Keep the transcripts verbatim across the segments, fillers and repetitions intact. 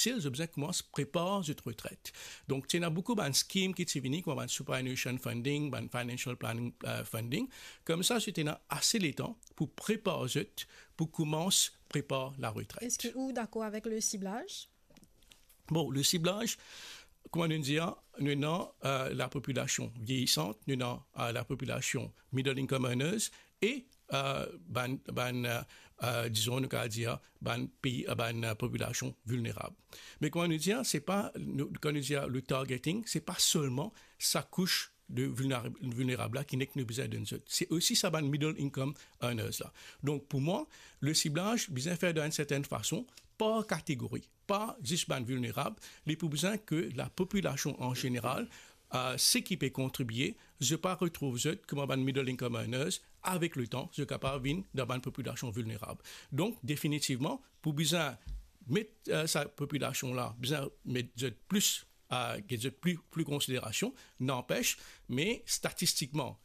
difisil, zot bizin koumans prepar zot retret. Donk, ti ena boukou bann skim ki ti vini, kouma bann superannuation funding, bann financial planning, euh, funding. Koumsa, zot ena ase letan pou prepar zot, pou koumans prepar laretret. Eski ou dakor avek le siblaz? Bon, le siblaz, kouma nou dir, nou ena, euh, lapopilasion vieyisan, nou ena, euh, lapopilasion middle income earners e, euh, bann, bann, euh, euh, dizon, nou kav dir, bann pei, euh, bann, euh, popilasion vilnerab. Me kouma nou dir, se pa, nou, kan nou dir le targeting, se pa selman sa kous de vilnerab, vilnerab la ki nek nou bizin donn zot. Se osi sa bann middle income earners la. Donk, pou mwa, le siblaz bizin fer dan enn sertenn fason, par kategori, pa zis bann vilnerab, li pou bizin ke lapopilasion an zeneral, euh, se ki pe kontribie, zot pa retrouv zot kouma bann middle income earners, avek letan, zot kapav vinn dan bann popilasion vilnerab. Donk, definitivman, pou bizin met, euh, sa popilasion la, bizin met zot plis, euh, get zot pli, pli konsiderasion, nanpes, me statistikman,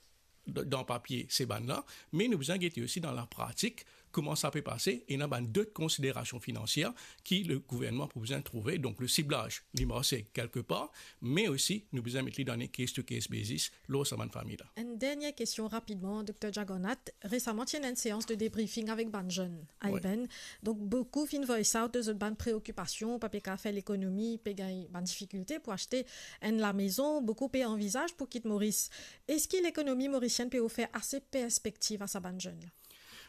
d-, dan papie, se bann la, me nou bizin gete osi dan lapratik, kouma sa pe pase, ena bann dot konsiderasion finansier ki le gouvernman pou bizin trouve. Donk, le siblaz, li marse kelke par, me osi, nou bizin met li dan enn case-to-case basis, lor sa bann fami la. Enn dernie kestion rapidman, Dokter Jagannath. Resaman, ti ena enn seans de debriefing avek bann zenn, Wi. Aiben. Donk, boukou finn voice out de zot bann preokipasion, pa pe kav fer lekonomi, pe gagn bann difikilte pou aste enn lamezon, boukou pe anvizaz pou kit Moris. Eski lekonomi morisienn pe ofer ase perspektiv a sa bann zenn la?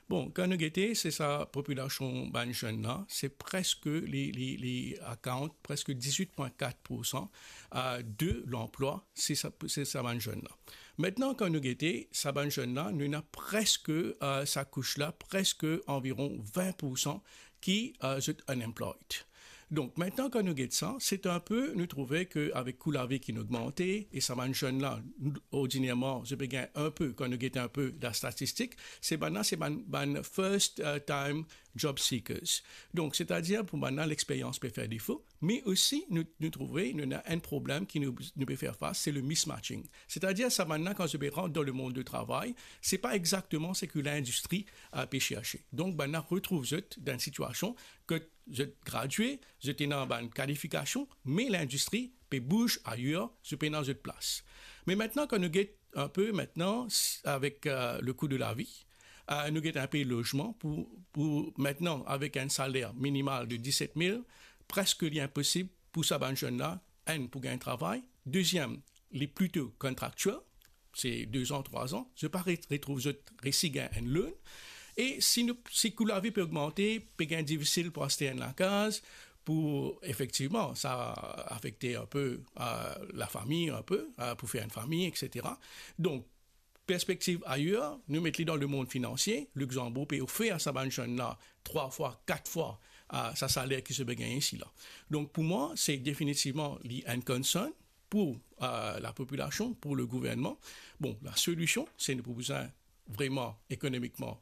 Bon, kan nou gete, se sa popilasion bann zenn la, se preske li, li, li account preske dizwit pwin kat poursan, euh, de lanplwa, se sa, se sa bann zenn la. Aster, kan nou gete, sa bann zenn la, nou ena preske, euh, sa kous la, preske anviron vin poursan ki, euh, zot unemployed. Donk, aster, kan nou get sa, se enn pe, nou trouve ke avek kou lavi ki'nn ogmante, e sa bann zenn la, nou, ordinierman, zot pe gagn enn pe, kan nou get enn pe lastatistik, se bann la, se bann, bann first, euh, time job seekers. Donk, setadir, pou bann la, lexperyans pe fer defo, me osi, nou, nou trouve, nou ena enn problem ki nou, nou pe fer fas, se le mismatching. Setadir, sa bann la, kan zot pe rant dan lemond de travay, se pa exakteman seki lindistri, euh, pe serse. Donk, bann la retrouv zot dan enn sitiasion ke zot gradie, zot ena bann kalifikasion, me lindistri pe bouz ayer, zot pena zot plas. Me aster, kan nou get enn pe aster, s-, avek, euh, le kou de lavi, euh, nou get enn pe lozman pou, pou aster, avek enn saler minimal de diset mil, preske li inposib pou sa bann zenn la, enn, pou gagn travay, deziem, li plito contractual, se de an, trwa an, zot pa re-, retrouv zot resi gagn enn loan. E si nou, si kou lavi pe ogmante, pe gagn difisil pou aste enn lakaz, pou efektivman, sa afekte enn pe, euh, lafami, enn pe, euh, pou fer enn fami, et cetera. Donk, perspektiv ayer, nou met li dan lemond finansie, Luxembourg pe ofer sa bann zenn la trwa fwa, kat fwa, euh, sa saler ki zot pe gagn isi la. Donk, pou mwa, se definitivman li enn concern pou, euh, lapopilasion, pou le gouvernman. Bon, lasolision, se nou pou bizin vreman ekonomikman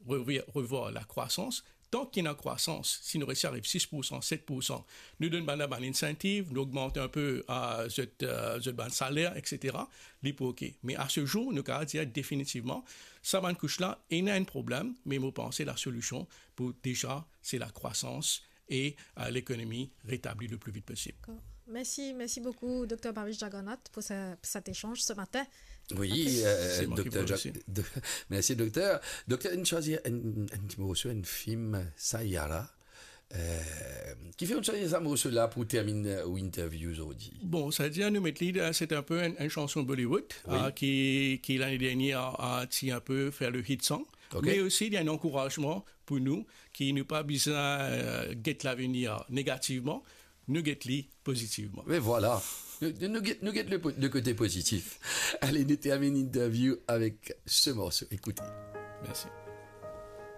revir, revwar lakrwasans. Tan ki ena krwasans, si nou resi ariv sis poursan, set poursan, nou donn bann la bann insentiv, nou ogmant enn pe, euh, zot, euh, zot bann saler, et cetera, li pou oke. Me a se zour, nou kav dir definitivman, sa bann kous la, ena enn problem, me mo panse lasolision pou deza, se lakrwasans e, euh, lekonomi retabli le pli vit posib. Dakor. Mersi, mersi boukou, Dokter Bhavish Jagannath, pou sa, pou set esanz se matin. Wi, Apre, euh, Se mwa ki Dokter pran Ja-, osi. Do-, mersi, Dokter. Dokter, inn swazir enn, enn ti morso, enn fim, Sayala. Euh, kifer inn swazir sa morso la pou terminn, euh, ou interview zordi? Bon, setadir nou met li, euh, se enn pe enn, enn sanson Bollywood, Wi. euh, ki, ki lane dernier, euh, ti enn pe fer le hit song. Ok. Me osi, li enn ankourazman pou nou, ki nou pa bizin, euh, get lavenir negativman, nou get li pozitivman. Me vwala. Nou, nou, nou get, nou get le po-, le kote pozitif. Ale, nou terminn interview avek se morso. Ekoute. Mersi.